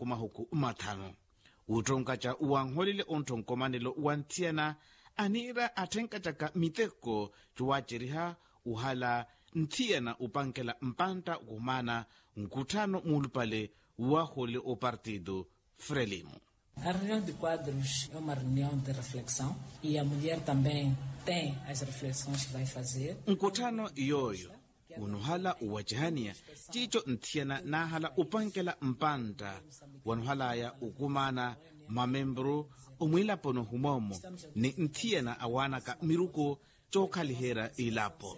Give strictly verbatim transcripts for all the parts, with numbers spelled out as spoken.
mahuku mathanu. Wuuttonkaca wanholele onttho nkomanelo wa nthiyana aniira atthenkacaka miteko cowaaceriha uhala nthiyana upankela mpantta okumana nkutthano muulupale waholele opartido frelimo. A reunião de quadros é uma reunião de reflexão e a mulher também tem as reflexões que vai fazer. Nkutthano yooyo unuhala uwacihaniya ciico nthiyana naahala upankela mpantta wanuhalaya ukumaana mamempuru omwiilaponi ohumoomo ni nthiyana awaanaka miruku cookhaliherya ilapo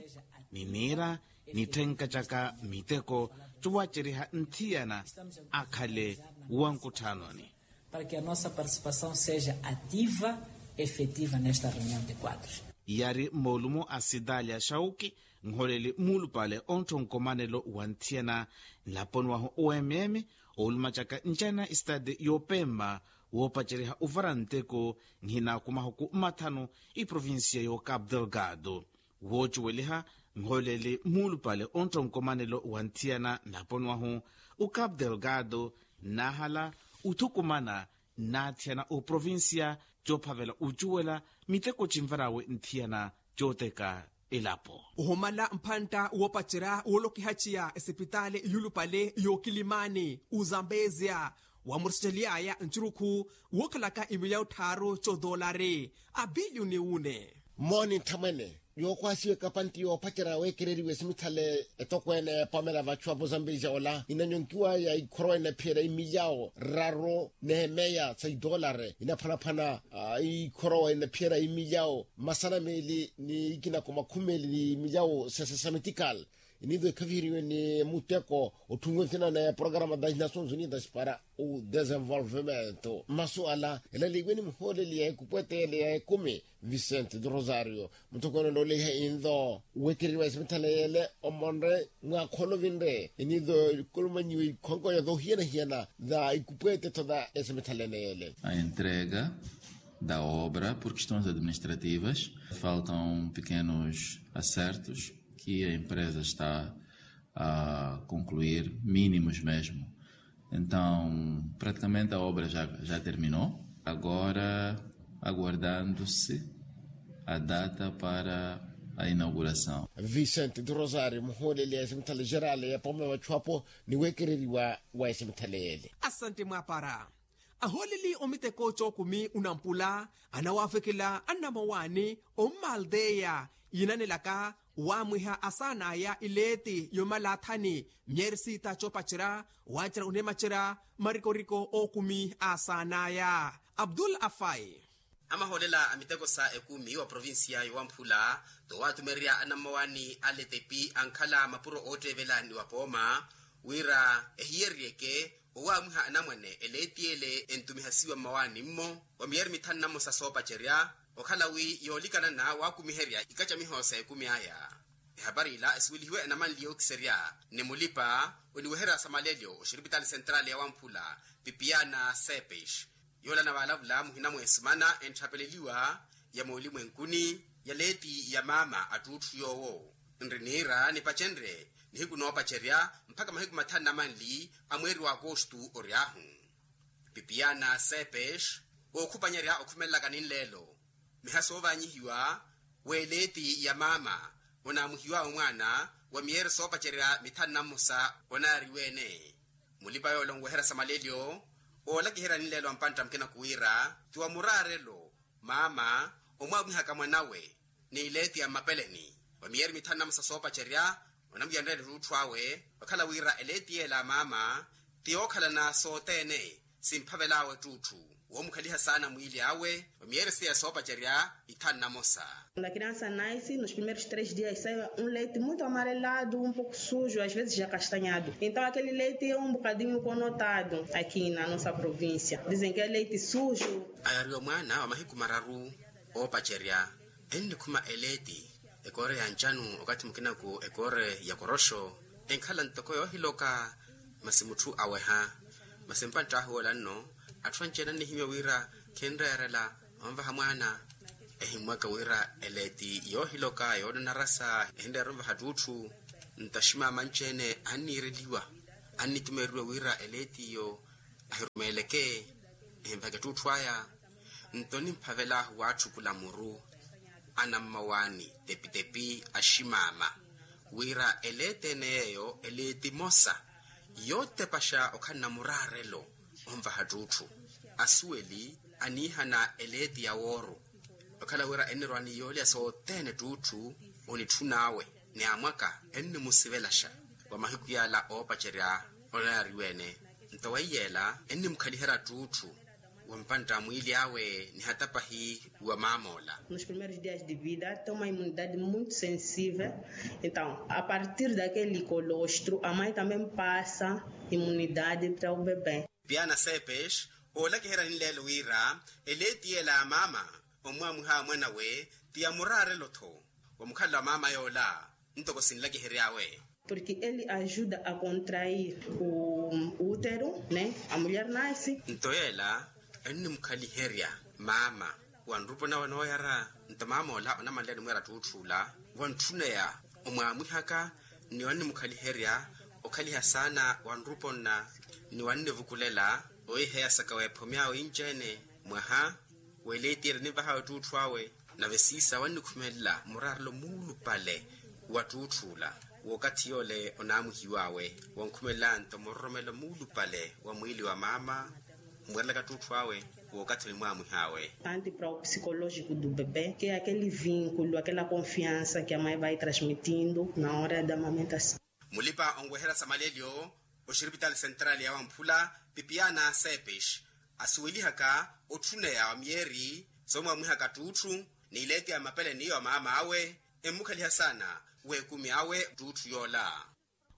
ni niira nitthenka caka miteko cowaceriha nthiyana akhale wa nkutthanoni. Para que a nossa participação seja ativa, efetiva nesta reunião de quadros. Yari moolumo a sitaali ya shauki nholeli muulupale onttho nkomanelo wa nthiyana nlaponi wahu oemyemi oolumacaka ncana isitati yoopemma woopaceriha ovara nteko nhina kumahuku mmathanu iprovincia yo cap delgado. Woocuweliha nholeli muulupale onttho nkomanelo wa nthiyana nlaponi wahu o cap delgado nnaahala othukumana nnaathiyana oprovincia coophavela ocuwela miteko cinvar'awe nthiyana cooteka elapo. Ohumala mpantta woopacerya woolokihaciya esipitaali yuulupale yookilimani ozambezia wamurecery'aya ncurukhu wookhalaka imilyawu tthaaru codoolari abiliyuni wune. Mooni nthamwene yookhwaasiwa ekapantti yoopacerya weekereriwa esimithale etokweene epomela vachu apo zambezia ola inanyonkiwaya ikhorowa inaphiyerya imilyawu raru n'emeya sa idoolari inaphwanaphwana. Ikhorowa inaphiyerya imilyawu masana meeli ni ikina ko makhumi meeli ni imilyawu sesesamitikali iniivo ekhaviheriwe ni muteko otthumiwe nthina na programa das nações unidas para o desenvolvimento masuala elaleiwe ni muhooleli ya ekupwete ele ya ekumi vicente do rosario mutokweene onooleiha inlo weekereriwa esimithaleyele omonre mwaakhoolo vinre iniivo kulumanyiwe ikhonko ya doohiyana-hiyana da ikupwete tho da esimithaleyele. A entrega da obra por questões administrativas faltam pequenos acertos que a empresa está a concluir mínimos mesmo. Então praticamente a obra já terminou agora aguardando-se a data para a inauguração. Vicente do rosario muhooleli ya esimithale gerale ya pome vachu apo ni weekereriwa wa esimithale ele. Asante mwaapara. Ahooleli omiteko cookumi onampula anawaavekhela anamawaani ommaaldeya yiinanelaka waamwiha asaan'aya ileeti yomalathani myeeri siita coopacerya waacerya oneemacerya marikoriko ookumi aasaan'aya. Abdul afai. Amahoolela a miteko sa ekumi wa provincia yowamphula towatumererya anamawaani a letepi ankhala mapuro ootteevela ni wapooma wira ehiyeryeke owaamwiha anamwane eleeti ele entumihasiwa mmawaani-mmo wa miyeeri mithanu na mmosa soopacerya okhala wi yoolikanana waakumiherya ikacamiho sa ekumi aya. Ehapari ila esuwelihiwe enamanli yookiserya ni mulipa oniweherya samalelyo oxiripitaali sentrali ya wamphula pipiana sepes yoola anavaalavula muhina mweesumana entthapeleliwa ya moolimwenkuni ya leeti ya maama attuutthu yoowo nri niira nipacenrye nihiku noopacerya mpakha mahiku mathanu na manli a mweeri wa akostu ory'ahu. Pipiana sepes ookhupanyerya okhumelelaka ninleelo miha soovaanyihiwa w'eleeti ya maama onaamuhiw'awe mwaana wa miyeeri soopacerya mithanu na mmosa onaariw'ene mulipa yoola onweherya samalelyo oolakiherya ninleelo a mpantta mukina kuwiira ti wa muraarelo maama omwaamwihaka mwanawe ni ileeti ya mmapeleni wa miyeeri mithanu na mmosa soopacerya onamuyanrela ettuutthu awe okhala wira eleeti yeela a maama ti yookhalana sothene simphavel'awe ettuutthu woomukhaliha saana mwiili awe wa miyeeri seiya soopacerya ithanu na mosa. Lakini a sanais nos primeiros três dias sai um leite muito amarelado um pouco sujo às vezes já castanhado então aquele leite é um bocadinho conotado aqui na nossa província dizem que é leite sujo. Ayariwa mwaana wa mahiku mararu oopacerya ennikhuma eleeti ekoore ya ncanu okathi mukinaku ekoore ya koroxo enkhala ntoko yoohiloka masi mutthu aweha masi mpantt'ahu woola nno atthu anci-ene annihimya wira khinreerela onvaha mwaana ehimmwaka wira eleeti yoohiloka yoonanarasa ehinreera onvaha ttuutthu nto aximaama anci-ene anniireliwa annitumeeriwa wira eleeti iyo Ahirumeeleke, ehinvaka ettuttu aya. Nto nimphavelaahu waatthukula muru anammawaani, tepitepi aximaama, wira eleeti ene yeeyo eleeti emosa yootepaxa okhala na muraarelo onvaha ttutthu. Asuweli aniihana eleeti ya wooru, okhala wira ennirowa ni yoolya sothene ttutthu onitthun'awe, ni amwaka ennimusivelaxa wa mahiku yala oopacerya. Onaariwa-ene, nto weiyeela ennimukhaliherya ttutthu wa mpantta a mwiili awe ni hata pahi wa maam'ola. Nos primeiros dias de vida tem uma imunidade muito sensível. Então, a partir daquele colostro a mãe também passa imunidade para o bebé. Piana sepes oolakiherya ninleelo wira eleeti yeela ya maama omwaamwiha mwan'awe ti ya muraarelo-tho wa mukhalelo wa maama yoola. Ntoko sinlakihery'awe. Porque ele ajuda a contrair o útero, né, a mulher nasce. Nto yeela ennimukhaliherya maama wa nrupo nawe nooyara. Nto maam'ola onamanleya onimweera ttutthu ola, wantthuneya omwaamwihaka ni wannimukhaliherya okhaliha saana wa nrupo nna, ni wannivukulela ohiheya saka weephomy'awe inci-ene mwaha w'eleeti ela ninvahawe ttutthu awe. Nave siisa wannikhumelela muraarelo muulupale wa ttutthu ola w'okathi yoole onaamwihiw'awe. Wankhumelela nto muroromelo muulupale wa mwiili wa maama mweerelaka ttutthu awe w'okathi onimwaamwih'awe. Tanto para o psicológico do bebé que é aquele vínculo, aquela confiança que a mãe vai transmitindo na hora da amamentação. Mulipa onweherya sa malelyo oxiripitaali sentrali ya wamphula, pipiana sepes, asuwelihaka otthuneya wa miyeeri soomwaamwihaka ttutthu ni ileeti ya mapele n'iyo wa maam'awe, emmukhaliha saana w'ekumi awe ttutthu yoola.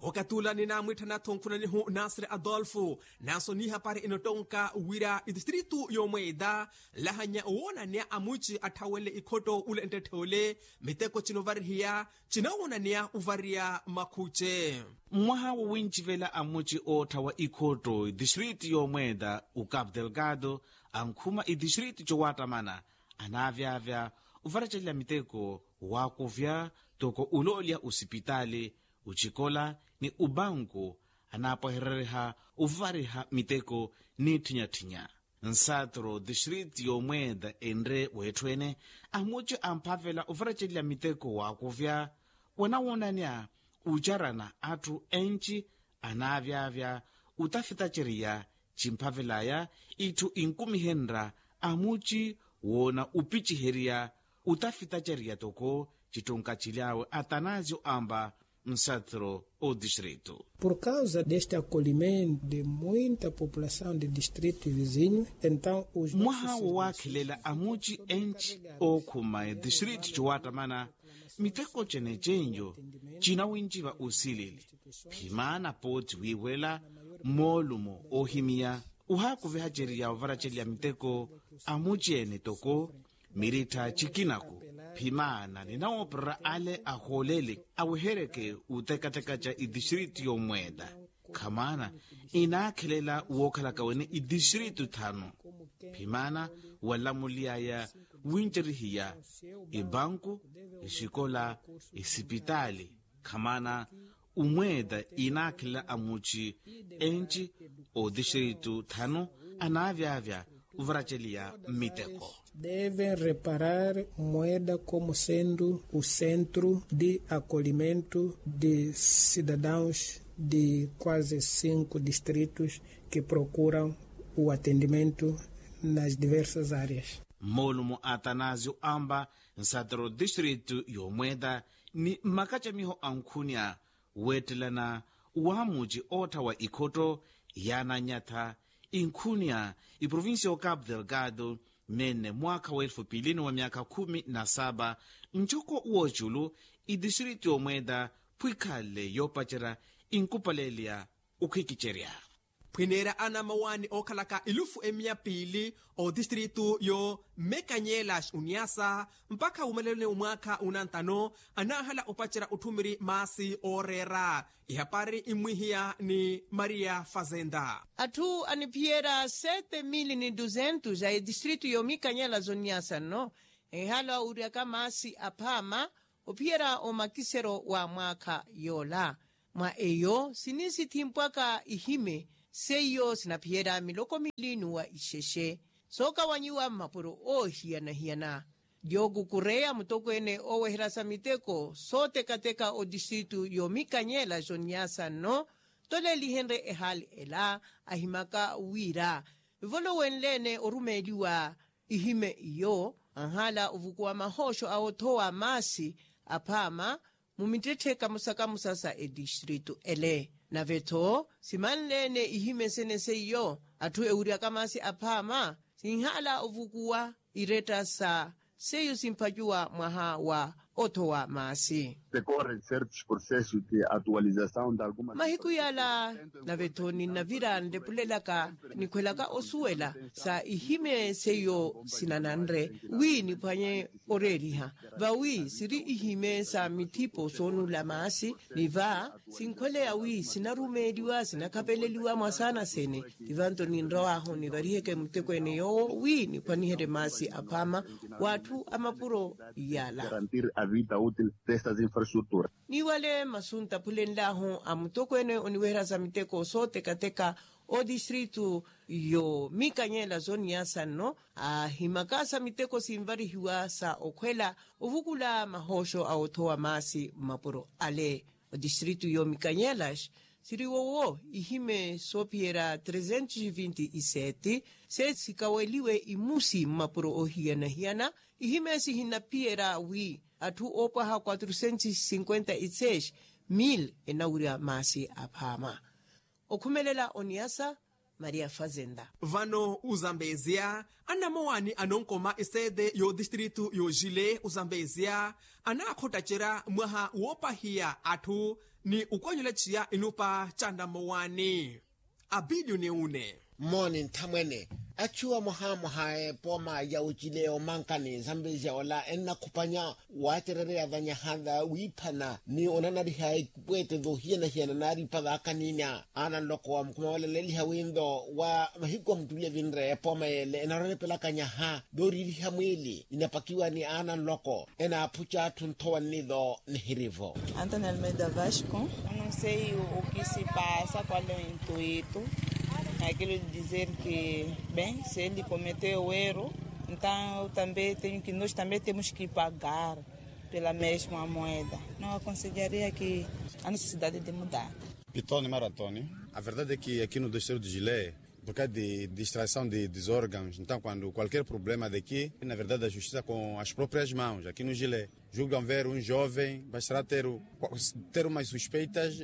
Okatula ninaamwitthanatho nkhunanihu nasiri adolfo, nanso nihapari inotonka wira itistritu y'omweeda nlahanya owoonaniya amuci atthawele ikhotto ule nttetthe ole miteko cinovarihiya cinawoonaniya ovariya makhuce. Mmwaha wowincivela amuci ootthawa ikhotto itistritu y'omweeda ukapu delgado ankhuma itistritu cowaattamana anaavyavya ovarecelya miteko waakuvya toko uloolya osipitaali ocikola ni obanku anaapwahereriha ovariha miteko ni tthinya-tthinya. Nsatro distrito y'omweeda enre weetthu ene amuci amphavela ovarecelya miteko waakuvya wanawoonanya ocarana atthu enci anaavyavya otafitaceriya cimphavelaya itthu inkumihenrya amuci woona opiciheriya otafitaceriya toko cittunka cily'awe atanasio amba nsatro o distrito. Por causa deste acolhimento de muita população de distrito vizinho então os mwaha wo waakhelela amuci enci ookhuma edistrito cowaattamana miteko cene cenjo cinawinciva osilili phimaana pooti wiiwela moolumo oohimiya ohaakuviha ceriya ovaraceliya miteko amuci ene toko mirittha cikinaku phimaana ninawoopererya ale ahooleli aweheryeke otekateka ca idistrito y'omweeda khamaana inaakhelela wookhalaka wene idistrito thanu phimaana walamuly'aya wincerihiya ibanku isikola isipitaali khamaana omweeda inaakhelela amuci enci otistrito thanu anaavyavya ovaraceliya mmiteko. Devem reparar moeda como sendo o centro de acolhimento de cidadãos de quase cinco distritos que procuram o atendimento nas diversas áreas. Moolumo atanasio amba nsatero distrito y'omweeda ni mmakacamiho ankhunya weettelana wa muci ootthawa ikhotto yaananyatha inkhunya iprovincia y'ocapu delgado nene mwaakha w'elfu piili ni wa myaakha khumi na saba ncoko w'oculu idistrito y'omweeda phwikhalle yoopacerya inkupaleliya okhikicerya. Phwineera anamawaani ookhalaka elufu emiya piili otistrito yo mekanyela uniasa mpakha wumaleloni omwaakha unantano anaahala opacerya otthumiri maasi ooreera. Ihapari immwihiya ni maria fazenda. Atthu aniphiyerya sete mili ni duzentos a etistrito yo mikanyela zoniasa nno ehala owiryaka maasi aphaama ophiyerya omakisero wa mwaakha yoola mwa eyo sinisi thimpwaka ihime Seiyo sinaphiyerya miloko miili n'uwa ixexe sookawanyiwa mmapuro oohiyana-hiyana. Dioku kureya mutokweene ooweherya sa miteko sooteka-teka otistritu y'omikanyela joniasa nno toleelihenrye ehaali ela ahimaka wira evolowenleene orumeeliwa ihime iyo anhaala ovukuwa mahooxo a othowa maasi aphaama mu mittetthe kamosa-kamosa sa etistritu ele. Nave-tho simanleene ihime sene seiyo atthu ewiryaka maasi aphaama sinhaala ovukuwa iretta sa seiyo simpacuwa mwaha wa othowa maasi. Mahiku yala nave-tho ninnavira nlepulelaka nikhwelaka osuwela sa ihime seiyo sinananre wi niphwanye oreeriha vawi siri ihime sa mithipo soonula maasi ni va sinkhweleya wi sinarumeeliwa sinakhapeleliwa mwasaana sene. Ti vanto ninrow'ahu nivariheke muttekweene yoowo wi niphwaniherye maasi aphaama w'atthu a mapuro yala. Niwale masu ntaphulenl'ahu a mutokweene oniweherya sa miteko sooteka-teka otistritu y'omikanyela zoniasa nno ahimaka sa miteko sinvarihiwa sa okhwela ovukula mahooxo a othowa maasi mmapuro ale. Otistritu y'omikanyela siri wowo ihime soophiyerya trezentos vinti iseti se sikaweliwe imusi mmapuro oohiyana-hiyana. Ihime sihinnaphiyerya wi atthu oopwaha quatrocentos cinquenta iseti mil enawirya maasi aphaama. Okhumelela oniasa maria fazenda. Vano ozambeziya anamowani anonkoma esede y'otistritu y'ojile ozambeziya anaakhottacerya mwaha woopahiya atthu ni okwanyula ciya inupa ca namowani. Abilio ni une. Mmooni nthamwene achu amohamoha epooma ya ocile omankani zambeziya ola ennakhupanya waacerereya vanyaha wiiphana ni onanariha ipweete voohiyana-hiyana naaripa vaakaninya. Aana nloko wa mukhuma wala leeliha winto wa mahiku a mutuli evinre epooma yeele enarorepelaka nyaha dooriiriha mwiili inapakiwa ni aana nloko enaaphuca atthu nthowa nnivo. Nihirivo. Antonio almeida vasco. Unu sei ukisipasa kwale intuitu. Akilo dizer ke ben se li kometeo wero. Entaw tambe tenho ke nos tambe temos ke pagar pela mesma moeda. Não aconselharia ke a necessidade de mudar. Pitoni mara antoni. A verdade é ke aqui no distrito de gilé por causa de distração de dos órgãos entaw quando qualquer problema daqui na verdade a justisa com as próprias mãos aqui no gilé. Julgam ver um jovem bastará ter ter umas suspeitas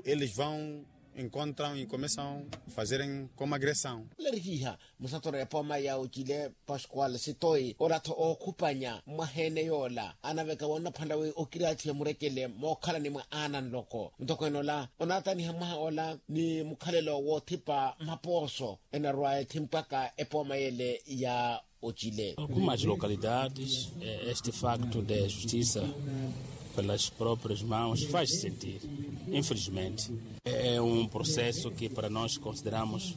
eles vão encontram e começam a fazerem como agressão. Lerihiha musatoro ya pooma ya ocile pascual sitoi olatho ookhupanya mwaheene yoola anaveka wonnaphanla wi okiraathiwe murekele mookhalani mwa aana nloko ntoko enola onaataniha mwaha ola ni mukhalelo woothipa mapooso enarwa ethimpwaka epooma yele ya ocile. Algumas localidades este facto de justisa pelas proprias mãos faz sentir infelizmente é um processo que para nós consideramos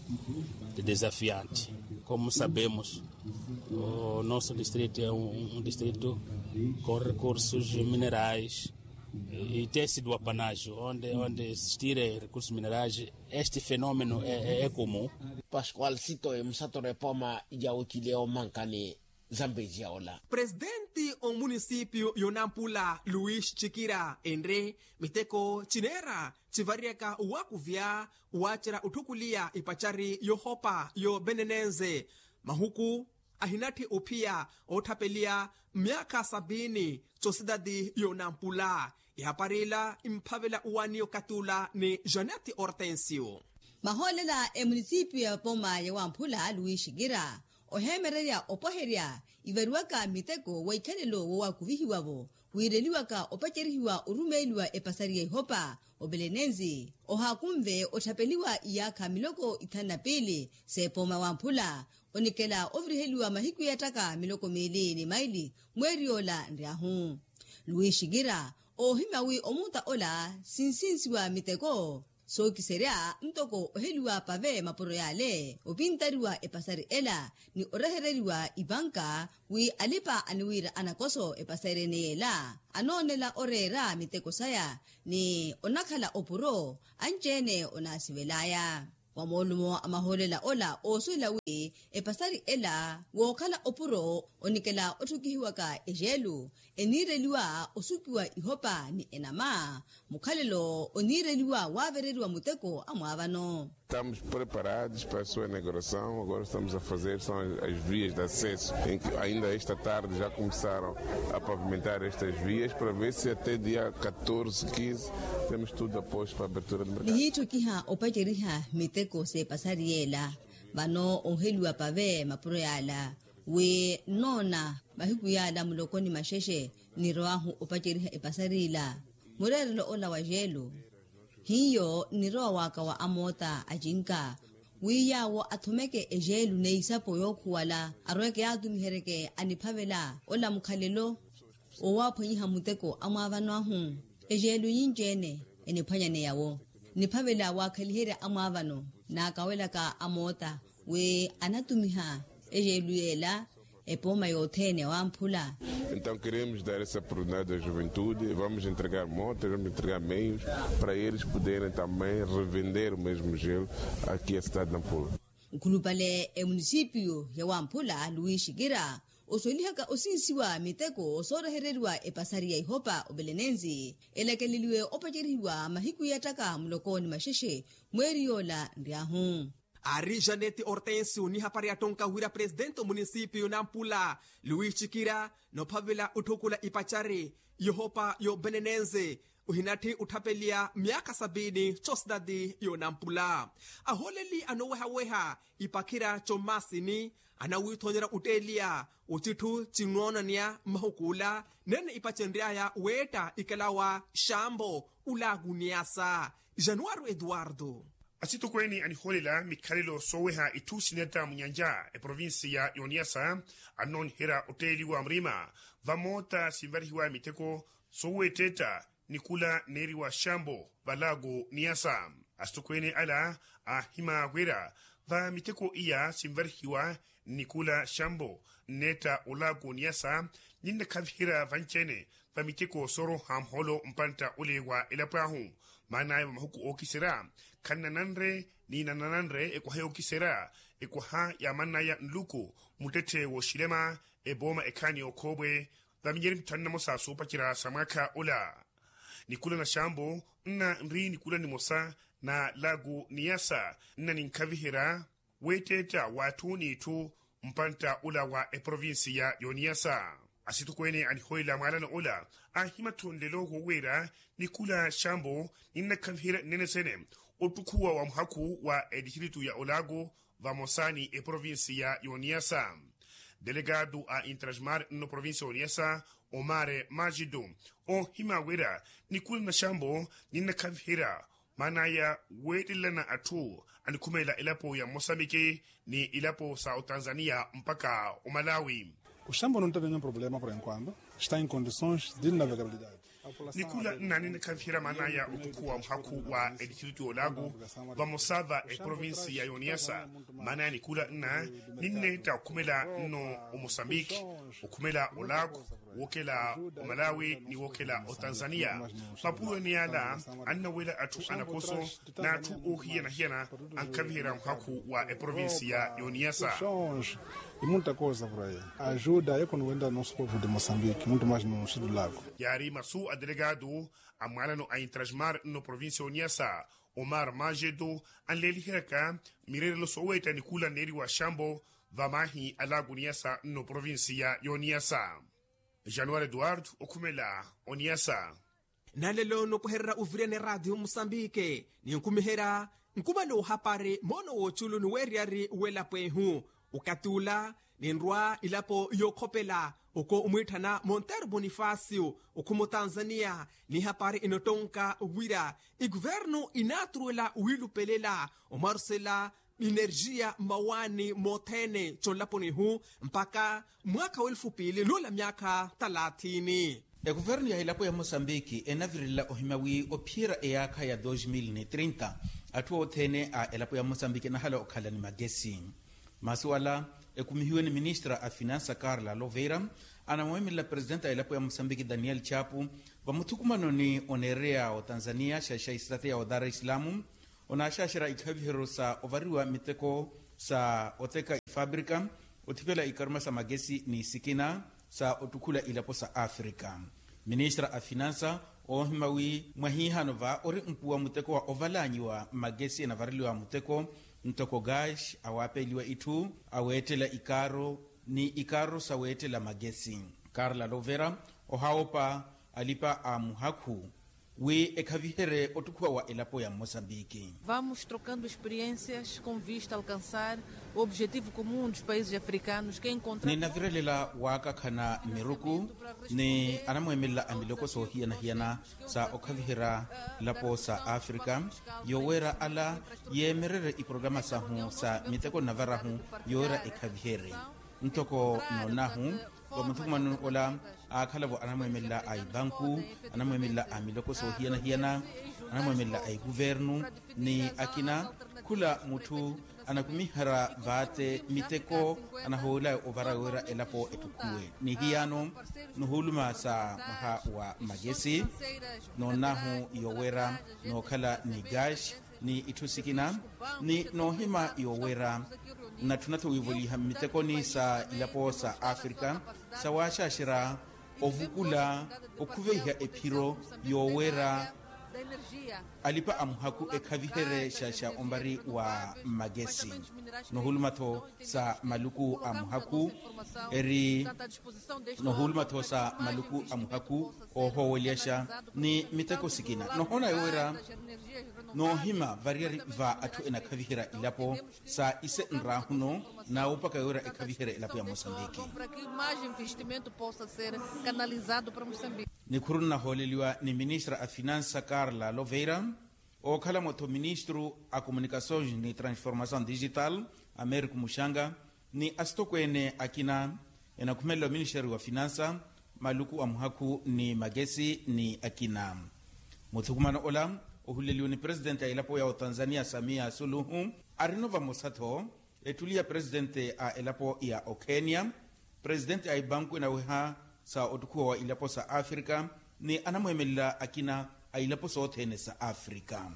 de desafiante. Como sabemos o nosso distrito é um distrito com recursos minerais e tem sido apanagem onde onde existirem recursos minerais este fenômeno é comum. Pascual sito emusatoro epooma ya ocile omankani zambeziya ola. Presidenti omunisipio yonampula luis cikira enre miteko cineera civariyaka owakuvya wacerya otthukuliya ipacari yohopa yobenenenze mahuku ahinatthi ophiya ootthapeliya myaakha sabini cosidadi yonampula. Ihapari ila imphavela owani okatula ni janeti ortensio. Mahoolela emunisipiyo ya pooma ya wamphula luwi xikira oheemererya opoherya ivariwaka miteko wa ikhalelo wowakuvihiwa-vo wiireliwaka opacerihiwa orumeeliwa epasari ya ihopa opelenenzi ohaakunve otthapeliwa iyaakha miloko ithanu na piili s'epooma wamphula onikela oviriheliwa mahiku yattaka miloko miili ni maili mweeri yoola nryahu. Luwi xikira oohimya wi omuuta ola sinsinsiwa miteko sookiserya ntoko oheliwa pave mapuro yaale opintariwa epasari ela ni orehereriwa ipanka wi alipa aniwiira anakoso epasari ene yeela anoonela oreera miteko saya ni onakhala opuro anci-ene onaasivel'aya. Wa moolumo a mahoolela ola oosuwela wi epasari ela wookhala opuro onikela otthukihiwaka ejeelu eniireliwa osukiwa ihopa ni enama. Mukhalelo oniireliwa waavereriwa muteko amwaavano. Estamos preparados para a sua inauguração. Agora estamos a fazer são as vias de acesso em que ainda esta tarde já começaram a pavimentar estas vias para ver se até dia catorze, quinze temos tudo a posto para a abertura do mercado. Nihiitthukiha opaceriha miteko s'epasari yeela. Vano ooheliwa pave mapuro yaala wi nnoona mahiku yaala muloko ni maxexe nnirowahu opaceriha epasari ila. Mureerelo ola wa jeelo hiyo nnirowa waka wa amoota acinka wi yaawo athomeke ejeelu n'eisapo yookhuwala arweke yaatumiheryeke aniphavela ola mukhalelo. Owaaphwanyiha muteko amwaavano ahu ejeelu yinci-ene eniphwanyaneya-wo niphavela waakhaliherya amwaavano naakawelaka amoota wi anatumiha ejeelu yeela epooma yothene wamphula. Então queremos dar essa oportunidade à juventude, vamos entregar motas, vamos entregar meios para eles poderem também revender o mesmo gelo aqui à cidade de Nampula. Nkhulupale emunisipiyu ya wamphula luis kira osolihaka osinsiwa miteko soorehereriwa epasari ya ihopa obelenenzi elakeleliwe opacerihiwa mahiku yattaka muloko ni maxexe mweeri yoola nryahu. Ari janete hortensio ni hapari yattonka wira presidente omunisipiyu nampula luis cikira nophavela otthukula ipacari yohopa yobenenenze ohinatthi otthapeliya myaakha sabiini cosidadi yonampula ahooleli anoowehaweha ipakhira commaasini anawithonyerya otteeliya ocitthu cinnoonaniya mmahukuula nene ipacenry'aya weetta ikalawa xambo ulaaku niyasa januwaro eduwardo. Asitokweene anihoolela mikhalelo sooweha itthu sinetta munyanja eprovinsiya y'oniyasa annooniherya otteeliwa murima vamoota sinvarihiwa miteko sooweetteetta nikula neeriwa xambo valaaku niyasa. Asitokweene ala aahima wira va miteko iya sinvarihiwa nikula xambo nneetta olaaku niyasa ninnakhaviherya vanci-ene va miteko sooroha muhoolo mpantta ole wa elapo ahu maan'aya va mahuku ookiserya khanna nanre ni nanananre ekwaha yookiserya ekwaha ya mann'aya nluku muttetthe w'oxilema epooma ekhaani y'okhoopwe va minyeri mitthanu na mosa soopacerya sa mwaakha ola nikula na xambo nna nri nikula nimosa na laaku niyasa nna ninkhaviherya weetteetta w'atthu n'itthu mpantta ola wa eprovinsiya y'oniyasa. Asitokweene anihoolela mwaalano ola aahimatthu nlelo wooweera nikula xambo ninnakhaviherya nnene sene ottukhuwa wa muhakhu wa edistritu ya olaaku vamosa ni eprovinsiya y'oniyasa. Delegado a intrasmar nno provinsiya y'oniyasa omar majidu oohima wira nikula na xambo ninnakhaviherya maan'aya weettelelana atthu anikhumelela elapo ya mosambiki ni ilapo sa otanzaniya mpakha omalawi. Oxambo nontavenya problema por enquanto está em condições de navegabilidade. Nikula nna ninnakhaviherya maan'aya otukhuwa muhakhu wa edistritu y'olaaku vamosa va eprovinsiya y'oniyasa. Maan'aya nikula nna ninneetta okhumela nno omosambiki okhumela olaaku wookela omalawi ni wookela otanzaniya. Mapuro ene yaala annawela atthu anakoso n'atthu oohiyana-hiyana ankhaviherya muhakhu wa eprovinsiya y'oniyasa. Imuntta kosa por ayi ajuda yekho nuwenta nosu povo de mosambiki muntu maji nunxilulako. Yaari masu a delegado a mwaalano a intrasmar nno provinsiya y'oniyasa omar majeto anleeliheryaka mireerelo sooweetta nikula neeriwa xambo vamaahi alaaku niyasa nno provinsiya y'oniyasa. Januwari eduwardo okhumela oniyasa. Nalelo nopwehererya ovirene raatiyo musambike ninkumiherya nkumala ohapari moono w'oculu ni weeriyari w'elapo ehu. Okathi ula ninrwa ilapo yookhopela oko omwiitthana monteiro bonifasio okhuma otanzaniya. Ni hapari enottonka wira ekuvernu inaaturuwela wiilupelela omwarusela enerjiya mmawaani mothene conlaponi ihu mpakha mwaakha w'elufu piili nuula myaakha thalathini. Ekuvernu ya elapo ya mosambiki enavirelela ohimya wi ophiyerya eyaakha ya dos mil ni trinta atthu othene a elapo ya mosambiki enahala okhala ni magesi. Masu ala ekumihiwe ni ministra a finansa carla loveira anamweemelela presidente a elapo ya mosambiki daniel chapu vamuthukumanoni oneereya otanzaniya xaxaxi estrateya o dar es salaam. Onaaxaxera ikhaviheryo sa ovariwa miteko sa oteka ifabrika, othipela ikaruma sa makesi ni sikina sa ottukhula ilapo sa afrika. Ministra a finansa oohima wi mwahihano va ori mpuwa muteko wa ovalanyiwa makesi enavareliwa muteko, ntoko gash awaapeliwa itthu aweettela ikaaro ni ikaaro saweettela makesi. Karla lovera ohawopa alipa a muhakhu wi ekhaviherye ottukhuwa wa elapo ya mosambiki. Vamos trocando experiências com vista a alcançar o objetivo comum dos países africanos, que é encontrar. Ninavirelela waakakhana miruku ni anamweemelela a miloko soohiyana-hiyana sa okhaviherya elapo sa afrika, yoweera ala yeemererye iporograma sahu sa miteko nnavarahu yoweera ekhaviherye. Ntoko noonahu va muthukumano ola aakhalavo anamweemelela a ibanku, anamweemelela a miloko soohiyana-hiyana, anamweemelela a ikuvernu ni akina, khula mutthu anakumiherya vaate miteko anahoolaya ovara wira elapo ettukhuwe ni hiyano. Nuhuuluma sa mwaha wa makesi noonahu yoweera nookhala ni gash ni itthu sikina ni noohima yoweera natthuna-tho wiivoliha mmitekoni sa ilapo sa afrika sawaaxaxerya ovukula okhuveiha ephiro yoweera alipa a muhakhu ekhaviherye xaxa ombari wa makesi. Nohuluma-tho sa maluku a muhakhu eri nohuluma-tho sa maluku a muhakhu oohowelyaxa ni miteko sikina nohoona yoweera noohima variyari va atthu enakhaviherya ilapo sa ise nraahuno naawupaka yoweera ekhaviherya elapo ya mosambiki. Nikhuru nnahooleliwa ni ministra a finansa karla loveira, ookhala mwa-tho ministru a komunikasoons ni transformasoon digital americo muxanga ni asitokweene akina enakhumelela oministeri wa finansa, maluku a muhakhu ni makesi ni akina. Muthukumano ola ohuleliwe ni presidenti a elapo ya otanzania samia suluhu, arino vamosa-tho ettuli ya presidenti a elapo ya okhenia, presidenti a ibanku enaweha sa ottukhuwa wa ilapo sa afrika ni anamweemelela akina a ilapo sothene sa afrika.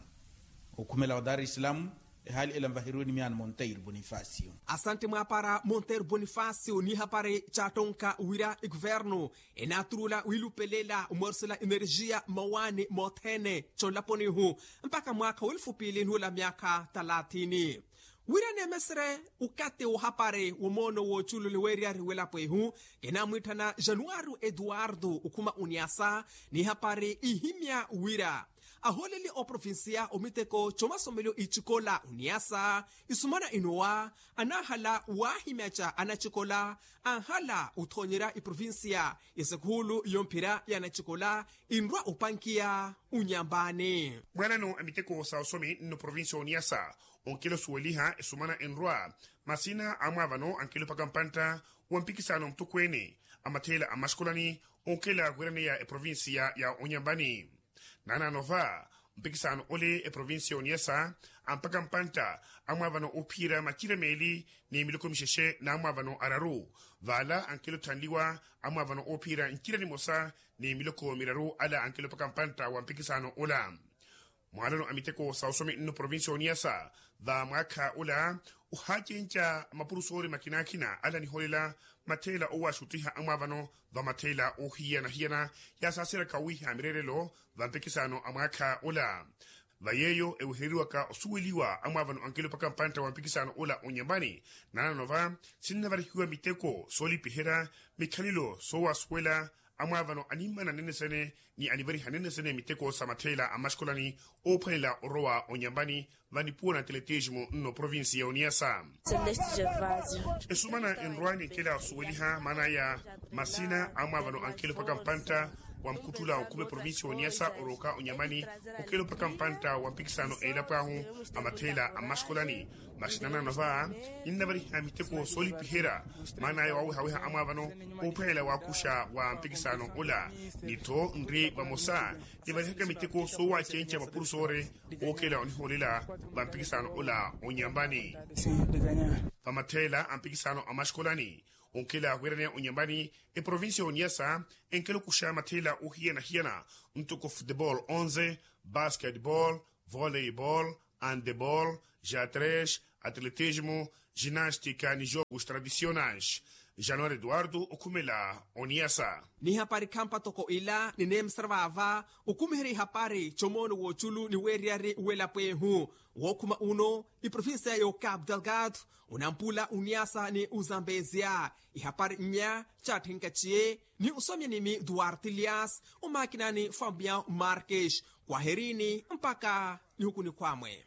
Okhumela wa dar es salaam, ehaali ela nvaheriwe ni miyaano monteiro bonifacio. Asante mwaapara monteiro bonifacio ni hapari caattonka wira ikuvernu enaaturula wiilupelela omweerisela energia mmawaani mothene conlaponihu mpakha mwaakha w'elufu piili n'ula myaakha talaatini. Wira neemesere ukati wohapari womoono woocuulule weeriyari w'elapo ihu, kinaamwiitthana januwari eduwardo okhuma oniasa n'ihapari ihimya wira ahooleli oprovincia omiteko comasomelo icikola oniasa isumana inowa anaahala waahimyaca anacikola anhala othoonyerya iprovincia ya sekuhulu yomphira ya anacikola inrwa opankiya unyambani. Mwaanano a miteko sa osomi nno provincia oniasa onkela osuweliha esumana enrwa masina a mwaavano ankela opaka mpantta wa mpikisano mutokweene a matheela a mmaxikolani onkela wiraneya eprovincia ya onyambani. Naanaano va mpikisano ole eprovincia oniasa ampaka mpantta a mwaavano oophiyerya macira meeli ni miloko mixexe na mwaavano araru. Vaala ankela otthanliwa a mwaavano oophiyerya ncira nimosa ni miloko miraru ala ankela opaka mpantta wa mpikisano ola. Mwaalano a miteko sa osomi nno provincia oniasa va mwaakha ola ohaacenca mapurusoori makinaakhina ala anihoolela matheela owaxuttiha a mwaavano va matheela oohiyana-hiyana yaasaseraka owiiha mireerelo va mpikisano a mwaakha ola. Va yeeyo ewehereriwaka osuweliwa a mwaavano ankela opaka mpantta wa mpikisano ola onyambani naanaano va sinnavarihiwa miteko soolipiherya mikhalelo soowasuwela a mwaavano animmana nennesene ni anivariha nennesene miteko sa matheela a mmaxikolani oophwanela orowa onyambani va nipuwa na atletismo nno provincia ya oniasa. Esumana enrwa ninkela osuweliha maana ya masina a mwaavano ankela opaka mpantta wa mukhuttula okhuma eprovincia ya oniasa orooka onyambani onkela opaka mpantta wa mpikisano elapo ahu a matheela a mmaxikolani. Masi naanaano va ninnavariha miteko soolipiherya maana aya waawehaweha a mwaavano oophwanela waakuxa wa mpikisano ola ni-tho nri vamosa nivarihaka miteko soowacenca mapurusoori ookela onihoolela va mpikisano ola onyambani. Va matheela a mpikisano a mmaxikolani onkela wiraneya onyambani eprovincia ya oniasa enkela okuxa matheela oohiyana-hiyana ntoko futebol onze, basketbol, voleibol, Handebol, ja tres, atletismo, ginastika ni jogos tradicionais. Januari eduardo okhumela oniyasa. Ni hapari khampa toko ila nineemesera vaava, okhumiherya ihapari comoono w'oculu ni weeriyari w'elapo ehu. Wookhuma uno, iprovincia y'okapu delgado, onampula uniyasa ni uzambezia. Ihapari nnya, caatthenkatiye ni usomya nimi duarte lias, omakinani famian marques, kwaherini mpakha nihuku nikhwamwe.